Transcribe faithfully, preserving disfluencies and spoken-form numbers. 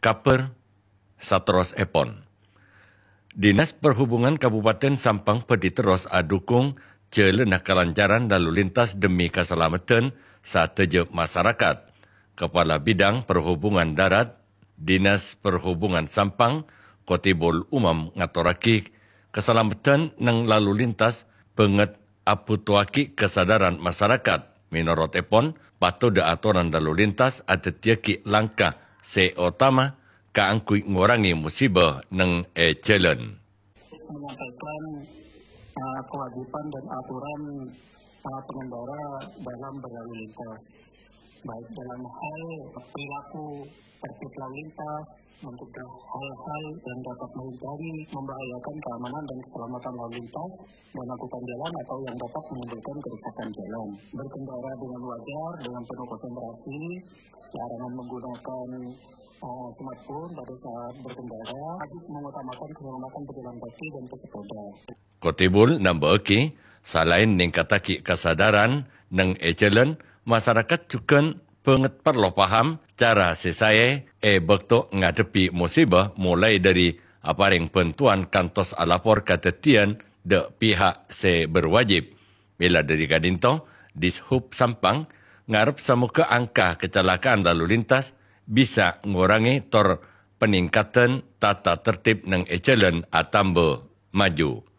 kabhâr saterrossèpon. Dinas Perhubungan Kabupaten Sampang bhâdhi terros adhukung jhâlânna kalancaran lalu lintas dhemmi kasalameddhân sadhâjâ masarakat. Kepala Bidang Perhubungan Darat, Dinas Perhubungan Sampang, Kotibul Umam ngatorraghi kasalameddhân neng lalu lintas bângèt abhutoaghi kasadaran masarakat. Mènorotèpon, patodhâ atoran lalu lintas adhâddhiyâghi langkah sè otama kaangghuy ngorangè musiba neng è jhâlân. Menyampaikan, eh, kewajiban dan aturan, eh, pengendara dalam berlalu lintas, baik dalam hal perilaku tertib lalu lintas, mencegah hal-hal yang dapat menghindari, membahayakan keamanan dan keselamatan lalu lintas dan angkutan jalan atau yang dapat menimbulkan kerusakan jalan. Berkendara dengan wajar, dengan penuh konsentrasi, larangan menggunakan, eh, smartphone pada saat berkendara, wajib mengutamakan keselamatan pejalan kaki dan pesepeda. Kotibul nambâ'âghi, salaèn nèngkattaghi kasadaran neng è jhâlân, masarakat jhughân bângèt parlo paham cara sè saè è bâkto ngadhebbhi musiba, molaè dhâri aparèng bhântowan kantos alapor kadhâddhiyân dhâ' pihak sè berwajib. Mèla dhâri ka'dinto, Dishub Sampang ngarep samogâ angka kecelakaan lalu lintas bisa ngorangè tor panèngkaddhân tata tertib neng è jhâlân atamba maju.